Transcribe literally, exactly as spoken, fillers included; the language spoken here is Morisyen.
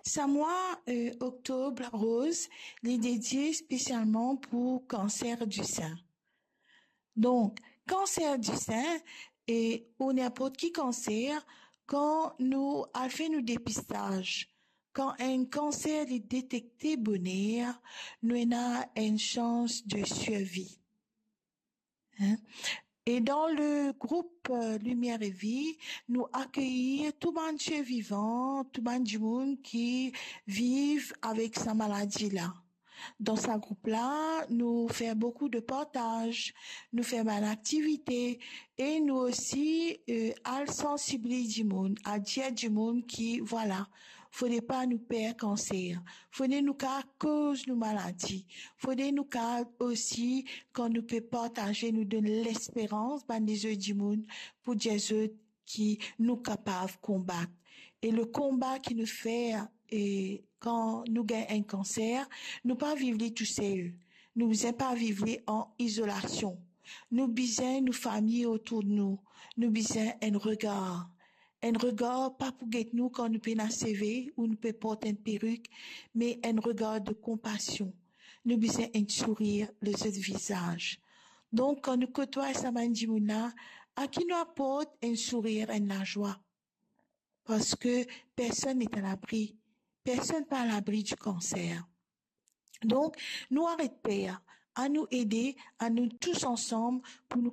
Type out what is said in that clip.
Sa mwa, euh, oktob roz, li dedie spesialman pou kanser di sin. Donk, kanser di sin, e, ou ninport ki kanser, kan nou al fer nou depistaz, kan enn kanser li detekte boner, nou ena enn sans de sirvi. Hein? E dan le group, euh, Lumière et Vie, nou akeyir tou bann ser vivan, tou bann dimoun ki viv avek sa maladi la. Dan sa group la, nou fer boukou de partaz, nou fer bann aktivite e nou osi, euh, al sansibiliz dimoun, al dir dimoun ki, vwala, fode pa nou per kanser, fode nou kav koz nou maladi, fode nou kav osi, kan nou pe partaze, nou donn lesperans bann lezot dimoun pou dir zot ki nou kapav konbat. E le konba ki nou fer, e kan nou gagn enn kanser, nou pa viv li tousel. Nou bizin pa viv li an izolasion. Nou bizin nou fami otour de nou. Nou bizin enn regar. Enn regar pa pou get nou kan nou pena seve ou nou pe port enn perik, me enn regar de konpasion. Nou bizin enn sourir lor zot vizaz. Donk, kan nou kotway sa bann dimoun la, a ki nou aport enn sourir, enn lazwa? Parski personn n'est à l'abri. Personn pa alabri di kanser. Donk, nou aret per, anou ede, anou tous ansam pou nou